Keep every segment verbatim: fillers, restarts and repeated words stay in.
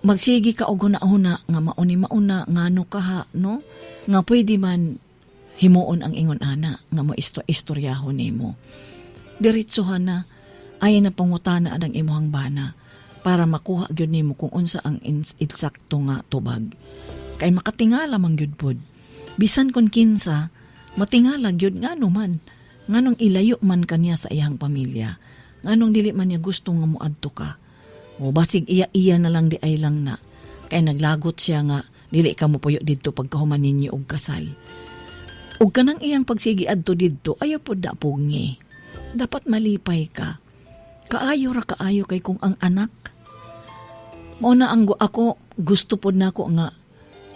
Magsige ka og huna-huna nga mauni mauna ngano kaha, no? Nga pwede man himuon ang ingon ana nga mo isto istoryahon nimo. Diretsohan na, ay na pangutana ang imuhang bana para makuha gyud nimo kung unsa ang insakto nga tubag. Kay makatingala man gyud pod. Bisan kon kinsa, matingala gyud, ngano man. Nganong ilayo man kaniya sa iyang pamilya. Nganong dili man niya gusto nga moadto ka. O basig iya-iya na lang di ay lang na. Kay naglagot siya nga dili ka mo puyo didto pagkahuman ninyo og kasal. Ug kanang iyang pagsigi adto didto, ayaw pod na pugngi. Dapat malipay ka. Kaayo ra kaayo kay kung ang anak mao na ang ako gusto pod nako nga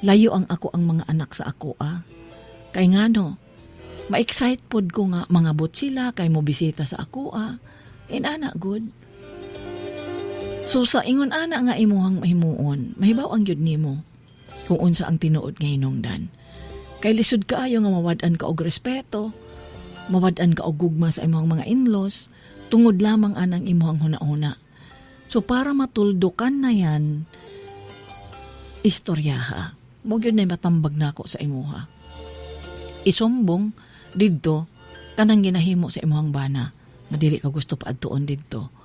layo ang ako ang mga anak sa ako ah. Kay ngano, ma-excite pod ko nga mangabot sila kay mo bisita sa ako ah. Inana good. So sa ingon ana nga imuhang mahimuon, mahibaw ang gyud nimo kung unsa ang tinuod nga hinungdan. Kay lisod kaayo nga mawad-an ka og respeto, mawad-an ka og gugma sa imong mga in-laws, tungod lamang anang imuhang huna-huna. So para matuldukan na yan, istoryaha. Mo gyud na matambag nako sa imuha. Isumbong didto kanang ginahimo sa imuhang bana nga dili ka gusto paadtuon didto.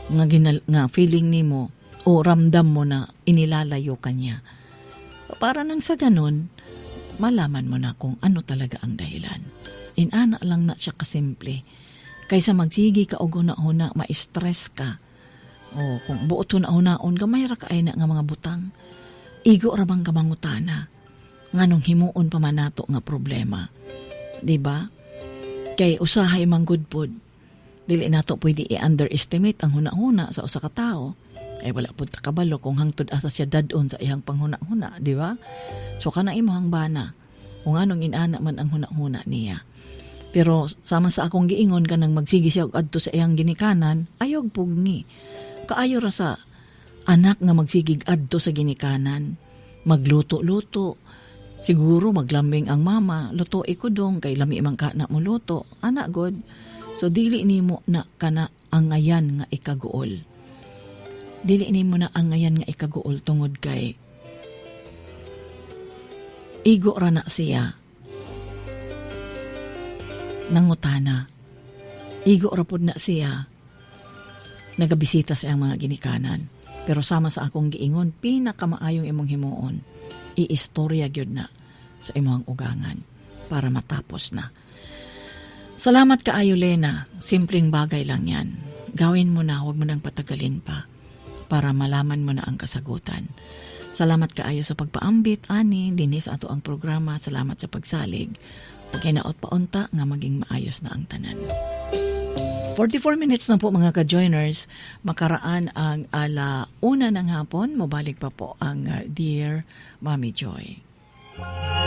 Nga, ginal, nga feeling nimo o ramdam mo na inilalayo ka niya. So, para nang sa ganun, malaman mo na kung ano talaga ang dahilan. Inana lang na siya kasimple. Kaysa magsigi ka og huna-huna, ma-stress ka. O kung buot huna-hunaon, gamay ra kaay na nga mga butang. Igo ra bang kamangutana? Nganong himuon pa man nato nga problema? Di ba? Kay usahay man gud pod. Dili nato pwede i-underestimate ang huna-huna sa usa ka tawo. Kay wala pud ta kabalo kung hangtod asa siya dad-on sa iyang panghuna-huna, di ba? So kana imong bana kung anong inana man ang huna-huna niya. Pero sama sa akong giingon, kanang magsige siya og adto sa iyang ginikanan, ayaw pugni. Kaayo ra sa anak nga magsigig adto sa ginikanan, magluto-luto. Siguro maglambing ang mama, luto ko dong kay lami man ka na mo luto. Ana god. So dili nimo na kana angayan nga ikaguol. Dili nimo na angayan nga ikaguol tungod kay igo ra na siya nangutana. Igo ra pud na siya nagabisita sa iyang mga ginikanan. Pero sama sa akong giingon, pinakamaayong imong himuon, iistorya gyud na sa imong ugangan para matapos na. Salamat kaayo, Lena. Simpleng bagay lang yan. Gawin mo na, huwag mo nang patagalin pa para malaman mo na ang kasagutan. Salamat kaayo sa pagpaambit, ani, dinhi sa ato ang programa. Salamat sa pagsalig. Ug hinaot paunta nga maging maayos na ang tanan. forty-four minutes na po, mga ka-joiners. Makaraan ang ala una ng hapon. Mobalik pa po ang uh, Dear Mommy Joy.